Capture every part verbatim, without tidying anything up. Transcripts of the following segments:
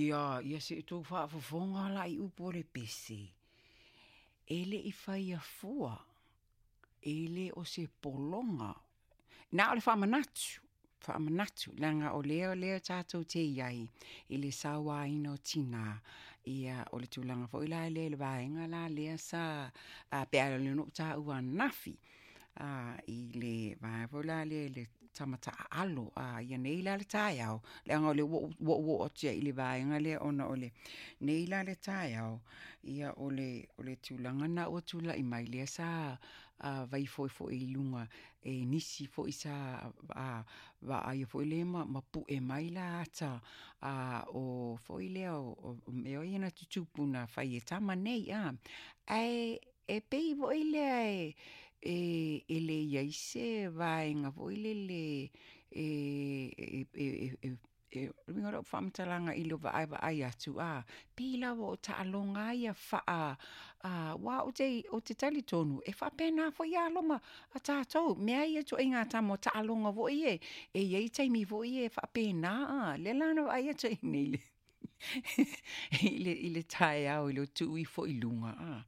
Ia, ia se i tou faafofoga la i upu o le pese, e le i faia fua, e le o se pologa. Na o le faamanatu, faamanatu, leaga o lea lea tatou te i ai i le sauaina o tinā, ia o le tulaga foi la lea i le vaega la lea sa pe a o lea na ou taua ananafi, i le vaega foi la lea i le tama taaalo. Ia nei la le taeao, leaga o lea ua ou oo atu i le vaega lea ona o lenei la le taeao, ia o le o le tulaga lena ua tulai mai lea sa vaifo foi i luga e nisi foi sa vaaia foi lea ma, ma pue mai la ata o foi lea o mea ia na tutupu na fai e tama nei. Ae e pei foi lea e, e le i ai se vaega foi lele e, e, e, e e o le uiga o lau faamatalaga i le vaavaai atu, a pei lava o taaloga ia faa aua ou te, ou te talitonu e faapena foi alo ma a tatou mea ia ituaiga tama o taaloga foi ia e i ai taimi foi ia e faapena. A lea la na vaai atu ai nei le i le i le taeao i le tuu ifo i luga, a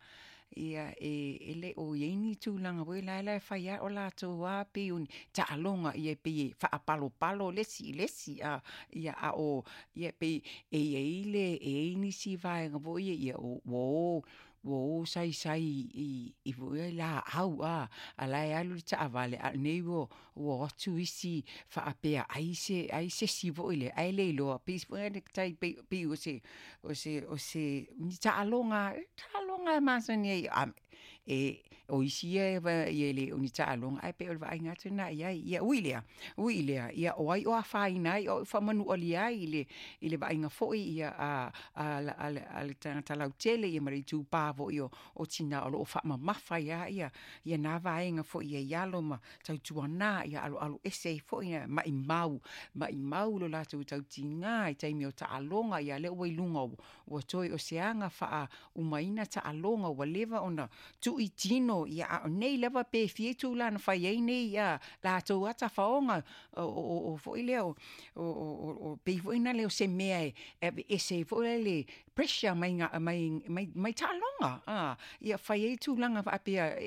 ia e, e le o i ai ni tulaga foi la la e fai lava o latou lava pei o ni taaloga ia pei e faapalopalo le isi i le isi, a ia a o ia pei e i ai le e i ai nisi vaega foi ia ia ua o ua o saisai i i foi laau, a a la e alu le taavale a o lenei ua ua o atu isi faapea ai se ai se isi foi lea ae le iloa pei foi le tai pei pei o se o se o se ni taaloga taaloga e masani ai a e o isi ia e le o ni taaloga ae pei o le vaaiga atu lena i ai. Ia ui lea, ui lea, ia o ai o afaina ai o au e faamanualia ai i le i le vaaiga foi ia a a a le a le tagata lautele ia ma le itupa foi o o tina o loo faamamafa ai ia ia na vaega foi i alo ma tautuana ia aloalo ese ai foi ia maimau maimau lo latou tautiga i taimi o taaloga. Ia lea ua i luga ua toe o se aga faauma taaloga ua leva ona tuu i tino, ia a o nei lava pe fia itula na fai ai nei ia latou lava tafaoga o o o foi lea o o o pei foi na lea o se mea e aveese ai foi le pressure mai mai mai mai taaloga, a ia fai ai tulaga faapea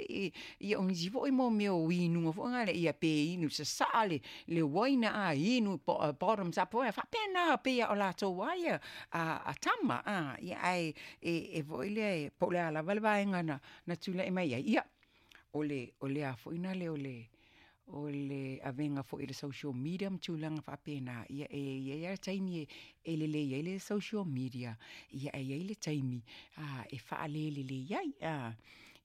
ia o nisi foi mo mea o inuga foi na ia pe inu sasaa le le uaina a inu bottoms up foi faapena pei o latou lava ia a, a tama a ia ae e, e foi lea po o le a lava le vaega na na tulai mai ai ia o le o le a foi na le o le o le avega foi i le social media ma tulaga faapena. Ia e i ai lava taimi e, e lelei ai le social media, ia e i ai le taimi a e faalelelei ai a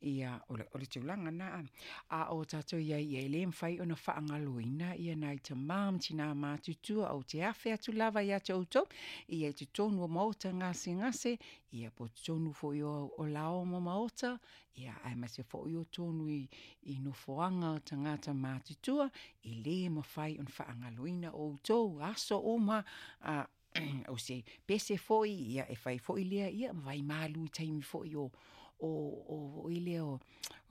ia o le, o le tulaga na a o tatou iai. Ia e le mafai ona faagaloina ia nai tamā ma tinā matutua. Ou te afe atu lava ia te outou ia i totonu o maota gasegase, ia po totonu foi o, o lao ma maota, ia aemaise foi o tonu i, i nofoaga o tagata matutua. E lē mafai ona faagaloina outou aso uma. A o se pese foi ia e fai foi lea ia ma vaimalu i taimi foi o o o foi lea o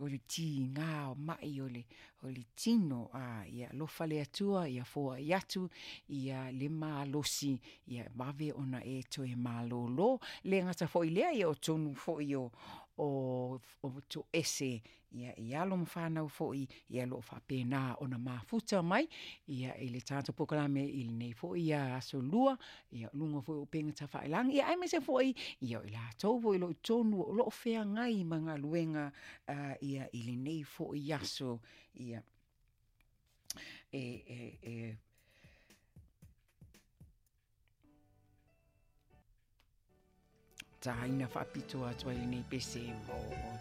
o le tiga o mai o le o le tino. A ia alofa le Atua ia foai atu ia le malosi ia vave ona e toe malōlō. Le gata foi lea ia o tonu foi o o o toese ia i alo ma fanau foi ia o loo faapena ona mafuta mai ia i le tatou polokalame i lenei foi ia aso lua ia luga foi o upega tafailagi ia aemaise foi ia o i latou foi o loo i totonu o loo feagai ma galuega ia i lenei foi aso ia e e e taina faapito atu ai lenei pese mo.